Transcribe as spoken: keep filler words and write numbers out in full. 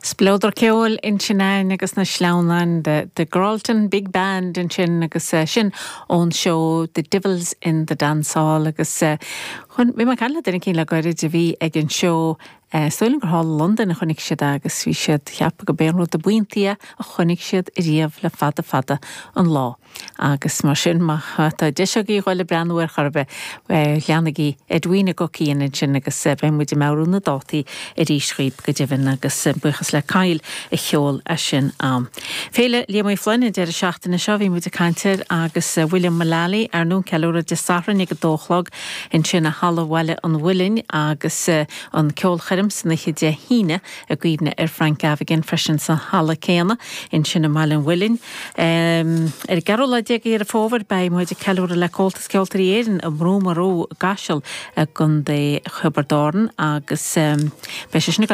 Spleodar ceoil ansin agus na sleamhnáin de the Gralton Big Band ansin agus uh, sin ón seó The Divils in the Dance Hall agus uh, chun bhí mé ag caint le duine éicint le gairid a bhí ag an seó Uh, Sóilin gur thall London a chonaic siad agus bhí siad ceaptha go b'é an rud ab iontaí a chonaic siad riamh le fada fada an lá. Agus mar sin má tá deis agaibh dul ag breathnú air charbeh leanaigí Edwina Gocíon sin agus beidh muid ag meabhrú na dátaí arís daoibh go deimhin agus buíochas le Kyle a cheol a sin am. Féile Liam Uí Fhloinn an deireadh seachtaine seo bhí muid ag caint air agus William Mullally ar nó ceiliúradh Dé Sathairn ag a dó a chlog ansin i Halla Bhaile an Mhuilinn agus an ceolchoirm san oíche Dé hAoine i gcuimhne ar Frank Gavigan freisin sa halla céanna ansin i mBaile an Mhuilinn. Um, ar an gceathrú lá déag Deireadh Fómhair beidh muid ag ceiliúradh le Comhaltas Ceoltóirí Éireann i mBrú Marú gCaiseal i gContae Thiobraid Árann agus um, beidh sé sin